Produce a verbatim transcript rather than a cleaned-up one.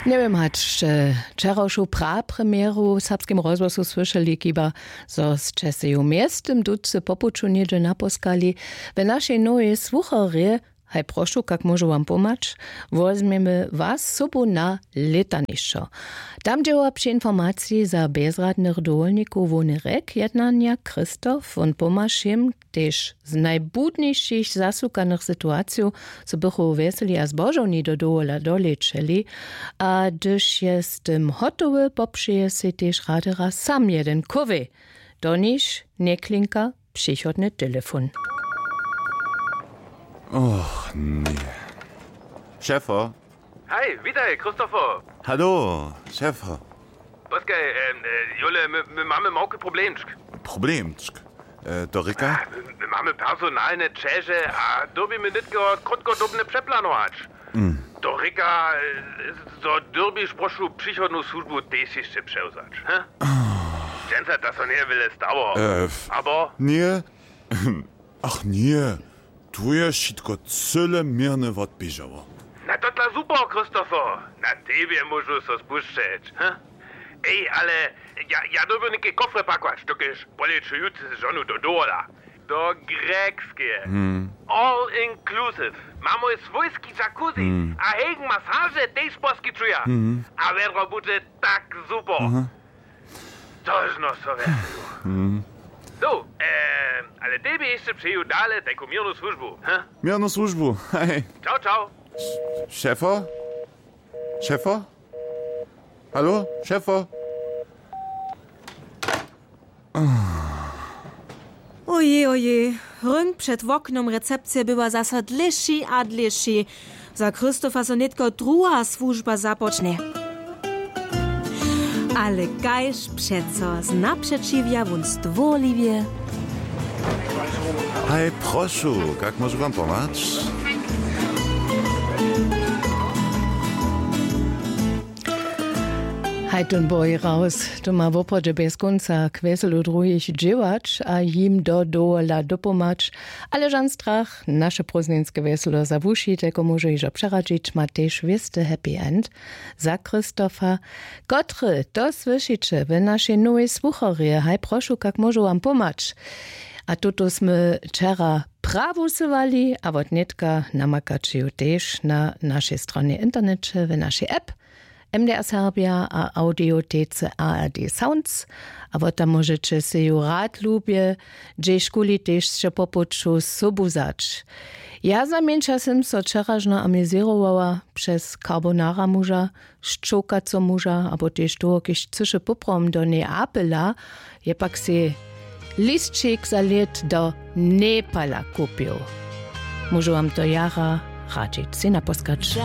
Njewěm hač sće wčerawšu prapremjeru w serbskim rozhłosu słyšeli, chiba zo sće sej w městym ducy po puću něhdźe naposkali. W našej nowej słucharje, haj prošu, kak móžu wam pomhać, wozmjemy was sobu na lětanišćo. Tam dźěła při informaciji za bjezradnych dowolnikow hłowny rjek jednanja Christoph. Wón pomhaš jim, tež z najbudnišich zasłukanych situacijow, zo bychu wjeseli a zbožowni do dowola dolečeli. A hdyž je z tym hotowy, popřeje sej tež rady raz sam jeden kowej. Do nichž njeklinka přichodny telefon. Och, nee. Šefo. Hej, witaj, Christopher. Hallo, Šefo. Poskaj, em, e, Jule, my, my mamy małki problemčk. Problemčk? E, to rěka? A, my, my mamy personalne ćeže a dyrbimy nětko krótkodobne přeplanować. Mm. To rěka, e, zo dyrbiš prošu přichodnu słužbu tež hišće přewzać, he? Dźensa to so njeje wjele stało. E, f-, abo? Nje. Ach nje, tu je wšitko cyle měrnje wotběžało. Na to dla super, Christopher. Na tebje móžu so spušćeć, he? Ej, ale ja, ja dyrbju něke kofry pakować, dokelž poleću jutře z žonu do dowola. Do Grekskeje. Hmm. All inclusive. Mamy swójski jacuzzi. Hmm. A hegen masaže tež poskićuja. Hmm. A wjedro budźe tak super. Aha. Tožno so wjerju. Hmm. So, e, ale tebje hišće přeju dale tajku měrnu słužbu, he? Měrnu słužbu, hej. Čau, čau. Šefo? Šefo? Halo, Šefo? Ojej, ojej, rynk před woknom recepcije bywa zaso dlěši a dlěši. Za Christopha so nětko druha słužba započnje. Ale kaž přeco znapřećiwja wón stwórliwje. Haj, prošu, kak móžu wam pomhać? Haj, tón Boj Raus, to ma woprawdźe bjez kónca k wjeselu druhich dźěłać a jim do dowola dopomhać. Ale žan strach, naše prózdninske wjeselo za wuši, telko móžu hižo přeradźić, ma tež wěsty happy end. Za Christopha, kotry to słyšiće w našej nowej słucharje, haj prošu, kak móžu wam pomhać. A tuto smy wčera prawusowali a wot nětka namakaće ju tež na našej stronje w interneće, w našej app M D R Serbia a audiotece A R D Sounds. A wot tam móžeće sej ju rad lubje, hdźežkuli tež sće po puću sobu wzać. Ja znajmjeńša sym so wčeražno amizěrowała přez carbonara muža, šćołkaco muža abo tež toho, kiž chcyše poprawom do Neapela, je pak sej lisćik za lět do Nepala kupił. Móžu wam to jara radźić, sej naposkać.